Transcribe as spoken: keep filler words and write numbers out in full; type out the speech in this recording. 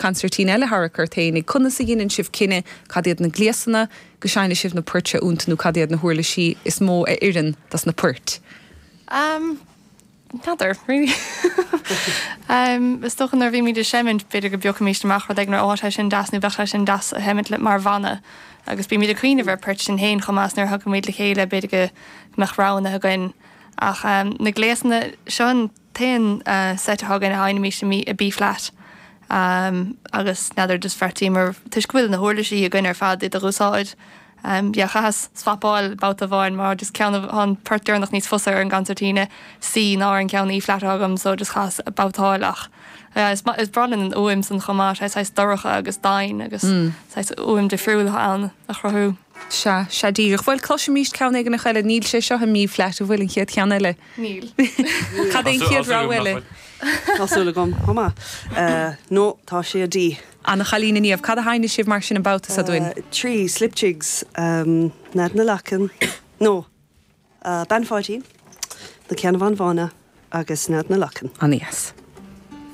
Consairtín eile a tharrac ort féinig. Conas a dhéanann sibh cinneadh cad iad na gléasanna go seinnfidh sibh na poirt seo iontu nó cad iad na huirlisí is mó a oireann dos na poirt? Um, N'fheadar, really. um, is dócha nuair a bhímid ag seimint b'fhéidir go bpiocfaimid amach rud éigin ó sé sin deas nó bheadh sé sin deas a sheimint le mar bhanna. Agus bímid ag cuimhneamh ar phoirt sin féin chomh maith nuair a thagaimid le chéile b'fhéidir go mbeadh roghanna againn. Ach um, na gléasanna seo an t-aon uh, set atá againn a sheinnimid i B flat. Um, agus n'fheadar just bheartaíomar toisc go bhfuil na huirlisí againn ar fad iad a úsáid. Um, yeah, chaitheas swapáil babhta amháin mar just ceann an port deireanach níos fusa ar an gconsairtín C ná an ceann E flat agam so just chaitheas babhtáil ach yeah, is, is breá linn an fhuaim san chomh maith sé saghas dorcha agus domhain agus mm. saghas fhuaim difriúil ann a chruthú. Sea sea díreach bhfuil cloisimid ceann éigin eile níl sé seo i B flat an bhfuil an chéad cheann eile. Níl. Cad é an chéad rogha eile? Tá súil agam chomh maith. No tá sé D. Anna chailín Niamh, cad a sheinnfidh sibh mar sin an babhta seo dúinn? Trí slip jigs um, Nead na Lachan no uh, Bean Pháidín, na Ceannabháin Bhána agus Nead na Lachan. An-deas.